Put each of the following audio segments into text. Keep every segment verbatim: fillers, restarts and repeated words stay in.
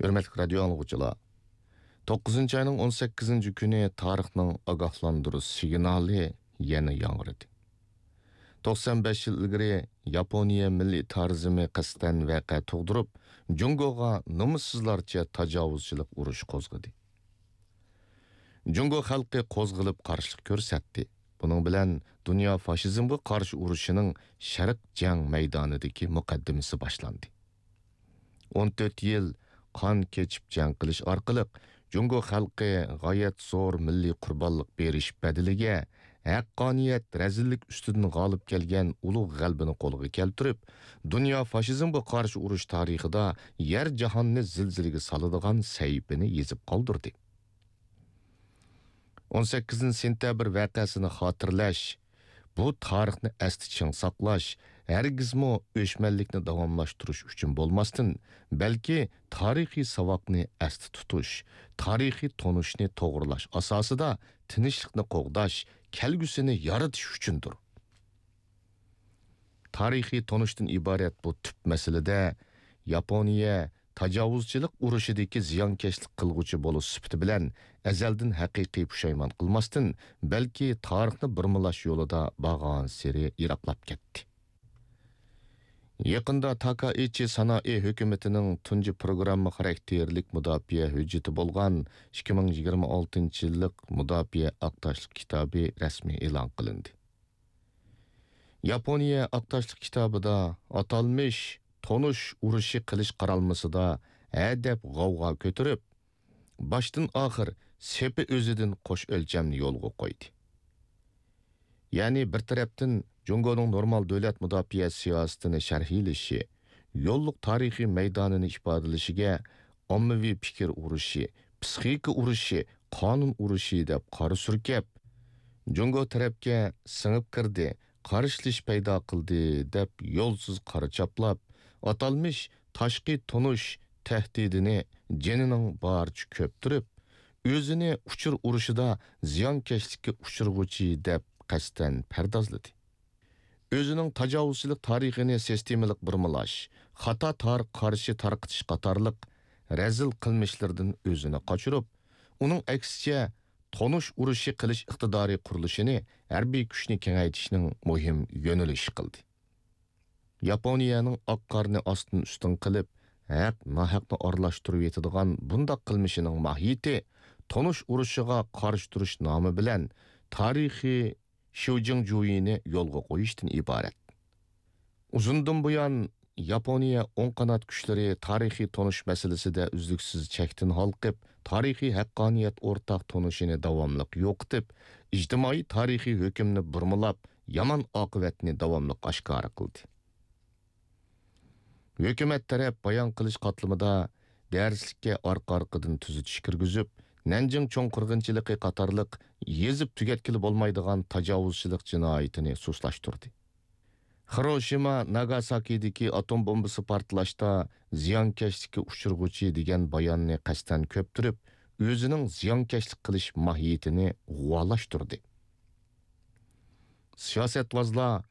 ھۆرمەتلىك رادىيو ئاڭلىغۇچىلار، توققۇزىنچى ئاينىڭ ئون سەككىزىنچى كۈنى تارىخنىڭ ئاگاھلاندۇرۇش سىگنالى يەنە ياڭرىدى. توقسان بەش يىل ئىلگىرى ياپونىيە مىللىي تارىزمى قەستەن ۋەقە تۇغدۇرۇپ، جۇڭگوغا نومۇسسىزلارچە تاجاۋۇزچىلىق ئۇرۇشى قوزغىدى. جۇڭگو خەلقى قوزغىلىپ قارشىلىق كۆرسەتتى. بۇنىڭ بىلەن دۇنيا فاشىزمغا قارشى ئۇرۇشىنىڭ شەرق جەڭ مەيدانىدىكى مۇقەددىمىسى باشلاندى. ئون تۆت يىل قان كېچىپ جەڭ قىلىش ئارقىلىق، جۇڭگو خەلقى غايەت زور مىللىي قۇربانلىق بېرىش بەدىلىگە ھەققانىيەت رەزىللىك ئۈستىدىن غالىب كەلگەن ئۇلۇغ غەلىبىنى قولغا كەلتۈرۈپ، دۇنيا فاشىزمغا قارشى ئۇرۇش تارىخىدا يەر جاھاننى زىلزىلىگە سالىدىغان سەھىپىنى يېزىپ قالدۇردى. ئون سەككىزىنچى سېنتەبىر ۋەقەسىنى خاتىرىلەش، بۇ تارىخنى ئەستە چىڭ ساقلاش، ھەرگىزمۇ ئۆچمەنلىكنى داۋاملاشتۇرۇش ئۈچۈن بولماستىن، بەلكى تارىخىي ساۋاقنى ئەستە تۇتۇش، تارىخىي تونۇشنى توغرىلاش ئاساسىدا تىنچلىقنى قوغداش، كەلگۈسىنى يارىتىش ئۈچۈندۇر. تارىخىي تونۇشتىن ئىبارەت بۇ تۈپ مەسىلىدە ياپونىيە تاجاۋۇزچىلىق ئۇرۇشىدىكى زىيانكەشلىك قىلغۇچى بولۇش سۈپىتى بىلەن ئەزەلدىن ھەقىقىي پۇشايمان قىلماستىن، بەلكى تارىخنى بۇرمىلاش يولىدا بارغانسېرى يىراقلاپ كەتتى. يېقىندا تاكائىچى سانائى ھۆكۈمىتىنىڭ تۇنجى پروگرامما خاراكتېرلىك مۇداپىئە ھۆججىتى بولغان ئىككى مىڭ يىگىرمە ئالتىنچى يىللىق مۇداپىئە ئاق تاشلىق كىتابى رەسمىي ئېلان قىلىندى. ياپونىيە ئاق تاشلىق كىتابىدا ئاتالمىش تونۇش ئۇرۇشى قىلىش قارالمىسىدا ھەدەپ غەۋغا كۆتۈرۈپ، باشتىن ئاخىر سېپى ئۆزىدىن قوش ئۆلچەمنى يولغا قويدى. يەنى بىر تەرەپتىن جۇڭگونىڭ نورمال دۆلەت مۇداپىئە سىياسىتىنى شەرھلىشى، يوللۇق تارىخىي مەيدانىنى ئىپادىلىشىگە ئاممىۋى پىكىر ئۇرۇشى، پسىخىكا ئۇرۇشى، قانۇن ئۇرۇشى دەپ قارا سۈركەپ، جۇڭگو تەرەپكە سىڭىپ كىردى، قارشىلىشىش پەيدا قىلدى دەپ يولسىز قارا چاپلاپ، ئاتالمىش تاشقى تونۇش تەھدىتىنى جېنىنىڭ بارىچە كۆپتۈرۈپ، ئۆزىنى ئۇچۇر ئۇرۇشىدا زىيانكەشلىككە ئۇچرىغۇچى دەپ قەستەن پەردازلىدى. ئۆزىنىڭ تاجاۋۇزچىلىق تارىخىنى سىستېمىلىق بۇرمىلاش، خاتا تارىخقا قارشى تارقىتىش قاتارلىق رەزىل قىلمىشلىرىدىن ئۆزىنى قاچۇرۇپ، ئۇنىڭ ئەكسىچە، تونۇش ئۇرۇشى قىلىش ئىقتىدارى قۇرۇلۇشىنى ھەربىي كۈچنى كېڭەيتىشنىڭ مۇھىم يۆنىلىشى قىلدى. ياپونىيەنىڭ ئاق قارنى ئاستىن ئۈستۈن قىلىپ، ھەق ناھەقنى ئارىلاشتۇرۇۋېتىدىغان بۇنداق قىلمىشىنىڭ ماھىيىتى تونۇش ئۇرۇشىغا قارشى تۇرۇش نامى بىلەن تارىخىي شيۇجىڭجۇيىنى يولغا قويۇشتىن ئىبارەت. ئۇزۇندىن بۇيان ياپونىيە ئوڭ قانات كۈچلىرى تارىخىي تونۇش مەسىلىسىدە ئۈزلۈكسىز چەكتىن ھالقىپ، تارىخىي ھەققانىيەت ئورتاق تونۇشىنى داۋاملىق يوقىتىپ، ئىجتىمائىي تارىخىي ھۆكۈمنى بۇرمىلاپ، يامان ئاقىۋەتنى داۋاملىق ئاشكارا قىلدى. ھۆكۈمەت تەرەپ بايان قىلىش قاتلىمىدا دەرسلىككە ئارقا-ئارقىدىن تۈزىتىش كىرگۈزۈپ، نەنجىڭ چوڭ قىرغىنچىلىقى قاتارلىق يېزىپ تۈگەتكىلى بولمايدىغان تاجاۋۇزچىلىق جىنايىتىنى سۇسلاشتۇردى. خىروشىما، ناگاساكىدىكى ئاتوم بومبىسى پارتلاشتا زىيانكەشلىككە ئۇچرىغۇچى دېگەن باياننى قەستەن كۆپتۈرۈپ، ئۆزىنىڭ زىيانكەشلىك قىلىش ماھىيىتىنى غۇۋالاشتۇردى. سىياسەتۋازلار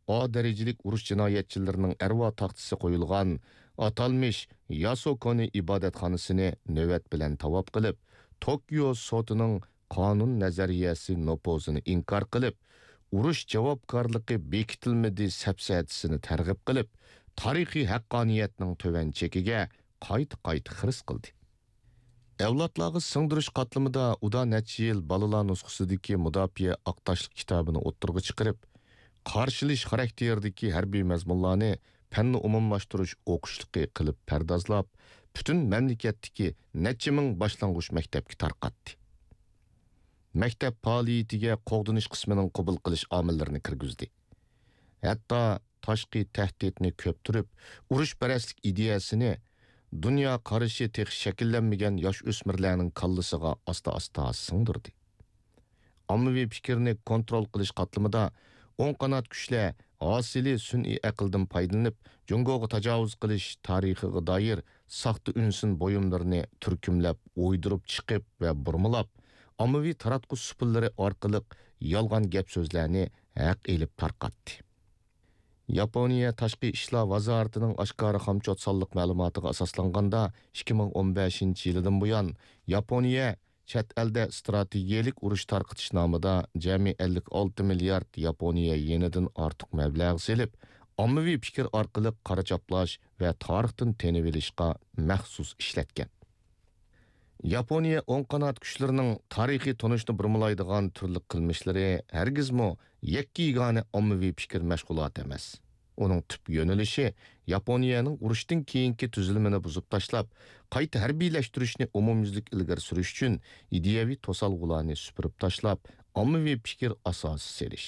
ئا دەرىجىلىك ئۇرۇش جىنايەتچىلىرىنىڭ ئەرۋا تاختىسى قويۇلغان ئاتالمىش ياسۇكونى ئىبادەتخانىسىنى نۆۋەت بىلەن تاۋاپ قىلىپ، توكيو سوتىنىڭ قانۇن نەزەرىيەسى نوپۇزىنى ئىنكار قىلىپ، ئۇرۇش جاۋابكارلىقى بېكىتىلمىدى سەپسەتىسىنى تەرغىب قىلىپ، تارىخىي ھەققانىيەتنىڭ تۆۋەن چېكىگە قايتا-قايتا خىرىس قىلدى. ئەۋلادلارغا سىڭدۈرۈش قاتلىمىدا ئۇدا نەچچە يىل بالىلار نۇسخىسىدىكى مۇداپىئە ئاق تاشلىق كىتابىنى ئوتتۇرىغا چىقىرىپ، قارشىلىشىش خاراكتېرىدىكى ھەربىي مەزمۇنلارنى پەننى ئومۇملاشتۇرۇش ئوقۇشلۇقى قىلىپ پەردازلاپ، پۈتۈن مەملىكەتتىكى نەچچە مىڭ باشلانغۇچ مەكتەپكە تارقاتتى. مەكتەپ پائالىيىتىگە قوغدىنىش قىسمىنىڭ قوبۇل قىلىش ئامىللىرىنى كىرگۈزدى. ھەتتا تاشقى تەھدىتنى كۆپتۈرۈپ، ئۇرۇشپەرەسلىك ئىدىيەسىنى دۇنيا قارىشى تېخى شەكىللەنمىگەن ياش ئۆسمۈرلەرنىڭ كاللىسىغا ئاستا-ئاستا سىڭدۈردى. ئاممىۋى پىكىرنى كونترول قىلىش قاتلىمىدا ئوڭ قانات كۈچلەر ھاسىلى سۈنئىي ئەقىلدىن پايدىلىنىپ، جۇڭگوغا تاجاۋۇز قىلىش تارىخىغا دائىر ساختا ئۈنسىن بۇيۇملىرىنى تۈركۈملەپ، ئويدۇرۇپ چىقىپ ۋە بۇرمىلاپ، ئاممىۋى تاراتقۇ سۇپىلىرى ئارقىلىق يالغان گەپ-سۆزلەرنى ھەق ئېلىپ تارقاتتى. ياپونىيە تاشقى ئىشلار ۋازارىتىنىڭ ئاشكارا خامچوت سانلىق مەلۇماتىغا ئاساسلانغاندا، ئىككى مىڭ ئون بەشىنچى يىلىدىن بۇيان ياپونىيە چەت ئەلدە ئىستراتېگىيەلىك ئۇرۇش تارقىتىش نامىدا جەمئىي ئەللىك ئالتە مىليارد ياپونىيە يېنىدىن ئارتۇق مەبلەغ سېلىپ، ئاممىۋى پىكىر ئارقىلىق قارا چاپلاش ۋە تارىختىن تېنىۋېلىشقا مەخسۇس ئىشلەتكەن. ياپونىيە ئوڭ قانات كۈچلىرىنىڭ تارىخىي تونۇشنى بۇرمىلايدىغان تۈرلۈك قىلمىشلىرى ھەرگىزمۇ يەككە يېگانە ئاممىۋى پىكىر مەشغۇلاتى ئەمەس. ئۇنىڭ تۈپ يۆنىلىشى ياپونىيەنىڭ ئۇرۇشتىن كېيىنكى تۈزۈلمىنى بۇزۇپ تاشلاپ، قايتا ھەربىيلەشتۈرۈشنى ئومۇميۈزلۈك ئىلگىرى سۈرۈش ئۈچۈن ئىدىيەۋى توسالغۇلارنى سۈپۈرۈپ تاشلاپ، ئاممىۋى پىكىر ئاساسى سېلىش.